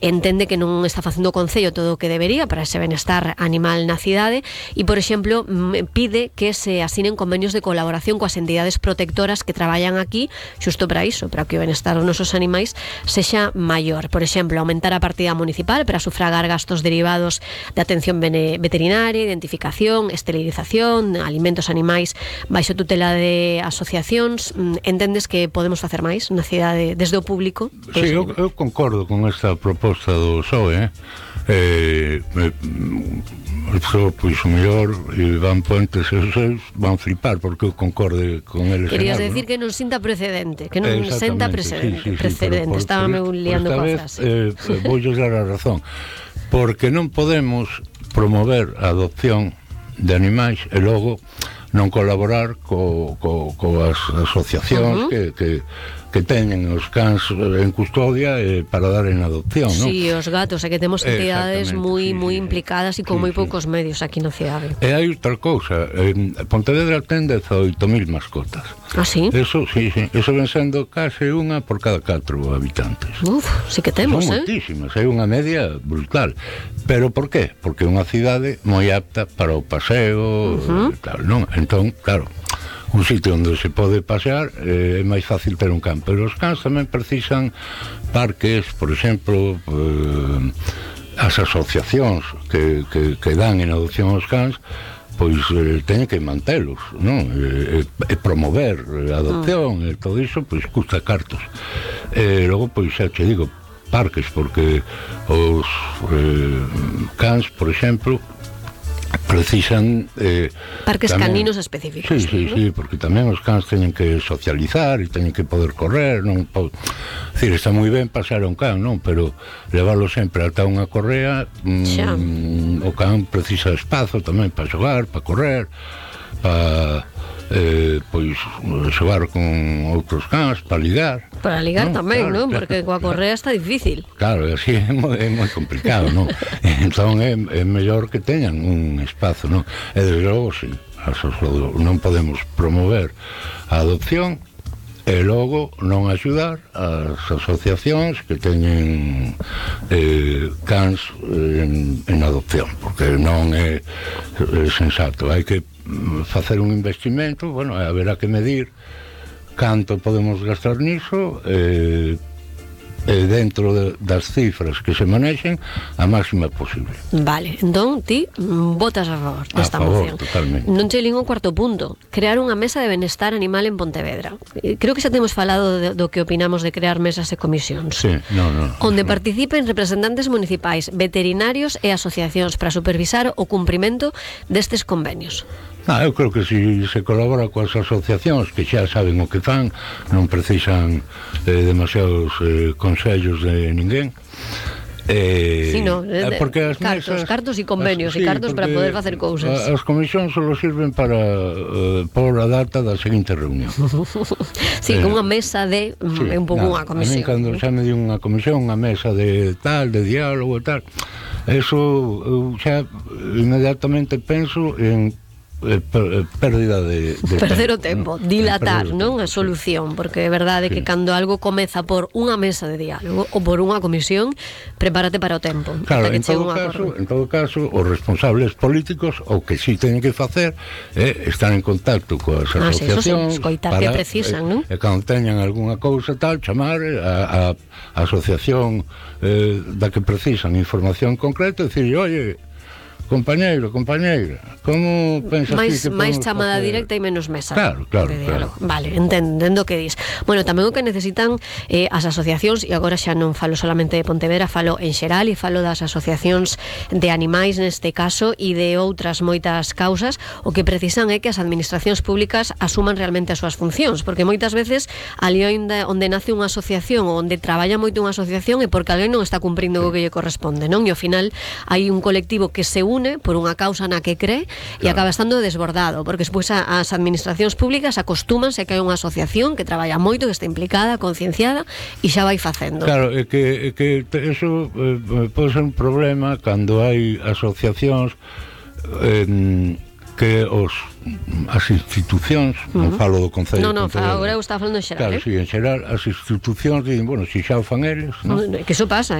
entende que non está facendo o Concello todo o que debería para ese benestar animal na cidade e, por exemplo, pide que se asinen convenios de colaboración coas entidades protectoras que traballan aquí xusto para iso, para que o benestar dos nosos animais sexa maior. Por exemplo, aumentar a partida municipal para sufragar gastos derivados de atención veterinaria, identificación, esterilización, alimentos animais baixo tutela de asociacións. Entendes que podemos facer máis na cidade desde o público? Sí, eu concordo con esta proposta do PSOE, pois o mellor Iván Puentes e os seus van flipar porque eu concorde con eles. Querías decir que non sinta precedente, que non senta precedente, estábame liando coa frase. Voulles dar a razón, porque non podemos promover a adopción de animais e logo non colaborar coas asociacións que teñen os cans en custodia para dar en adopción, non? Sí, os gatos, que temos entidades moi implicadas e con moi poucos medios aquí na cidade. E hai outra cousa, Pontevedra ten 18.000 mascotas. Ah, sí? Eso ven sendo case unha por cada 4 habitantes. Sí que temos, son moitísimas, hai unha media brutal. Pero por qué? Porque é unha cidade moi apta para o paseo e tal, non? Entón, claro, un sitio onde se pode pasear é máis fácil ter un can, pero os cans tamén precisan parques, por exemplo, as asociacións que dan en adopción aos cans, pois teñen que mantelos, non? E promover a adopción e todo iso, pois custa cartos. E logo, pois xa te digo, parques, porque os cans, por exemplo, precisan parques tamén, caninos específicos. Sí, porque tamén os cans teñen que socializar e teñen que poder correr, non decir, está moi ben pasar a un can, non? Pero leválo sempre ata unha correa, o can precisa espazo tamén para xogar, para correr, para pois xogar con outros cans, para ligar. Para ligar tamén, non? Porque coa correa está difícil. Claro, así é moi complicado, non? Entón é mellor que teñan un espazo, non? E desde logo, sí, non podemos promover a adopción e logo non axudar as asociacións que teñen cans en adopción, porque non é sensato. Hai que facer un investimento, bueno, haberá que medir canto podemos gastar niso dentro das cifras que se manexen a máxima posible. Vale, entón ti votas a favor desta moción. Totalmente. Non che lín o cuarto punto, crear unha mesa de benestar animal en Pontevedra. Creo que xa temos falado do que opinamos de crear mesas e comisións. Sí, onde participen representantes municipais, veterinarios e asociacións para supervisar o cumprimento destes convenios. Eu creo que se colabora coas asociacións que xa saben o que fan, non precisan demasiados consellos de ninguén. Porque as mesas, cartos e convenios e cartos para poder facer cousas. As comisións só sirven para por a data da seguinte reunión. Con unha mesa de un pouco unha comisión. Cando xa me di unha comisión, unha mesa de tal, de diálogo e tal, eso eu xa inmediatamente penso en pérdida de perder o tempo, dilatar, non? A solución, porque é verdade que cando algo comeza por unha mesa de diálogo ou por unha comisión, prepárate para o tempo. Claro, en todo caso, os responsables políticos o que si teñen que facer é estar en contacto coas asociacións, escoitar que precisan, non? E cando teñan algunha cousa tal, chamar a asociación da que precisan información concreta e dicir, oye, compañeiro, compañeira, como pensas que máis chamada directa e menos mesa? Claro. Vale, entendo que dis. Bueno, tamén o que necesitan as asociacións, e agora xa non falo solamente de Pontevedra, falo en xeral e falo das asociacións de animais neste caso e de outras moitas causas, o que precisan é que as administracións públicas asuman realmente as súas funcións, porque moitas veces ali onde nace unha asociación ou onde traballa moito unha asociación é porque alguén non está cumprindo o que lle corresponde, non? E ao final hai un colectivo que se une por unha causa na que cree e acaba estando desbordado, porque despois as administracións públicas acostúmanse a que hai unha asociación que traballa moito, que está implicada, concienciada e xa vai facendo. Claro, é que eso pode ser un problema cando hai asociacións que as institucións, non falo do Concello. Agora eu estaba falando en xeral. Claro, en xeral as institucións dicen, bueno, se xa o fan eles, non? Que iso pasa,